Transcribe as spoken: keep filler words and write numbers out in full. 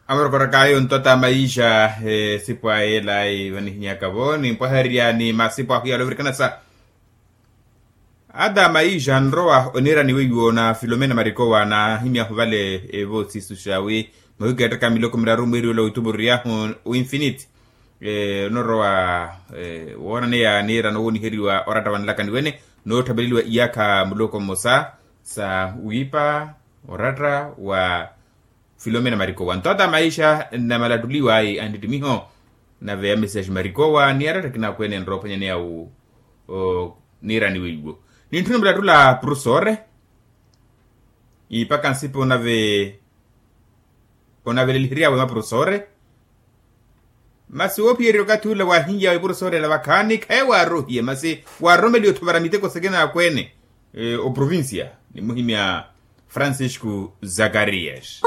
Amorokoraka ayo nto ata maixa esipo aye elayi vanihinyaka-vo nimpwahererya ni masipo ahu yalovirikana sa ata maixa anrowa oniira ni weiwo na filomena marikowa naahimyahu vale evo sisu xawi mahukeettaka miloko miraru mwiiri ola wituvururyahu winfiniti onorowa woonaneya niira nowooniheriwa oratta wa nlakani wene nootthaveleliwa iyakha muloko mmosa sa wiipa oratta wa filomena marikowa nto ata maixa namalattuliwa ayi anttitimiho nave ya message marikowa ni aratta akina akweene enrowa ophwanyaneya wu niirani weiwo nintthuna mulattula purusore ipaka nsipa onave onaveleliheryawe maprofesore masi woophiyerya okathi ula waahinyawe iprofesore ela vakhaani khaye waarohiye masi waaroromeliwe othovara miteko sakina akweene oprovincia nimuhimya francisco zakarias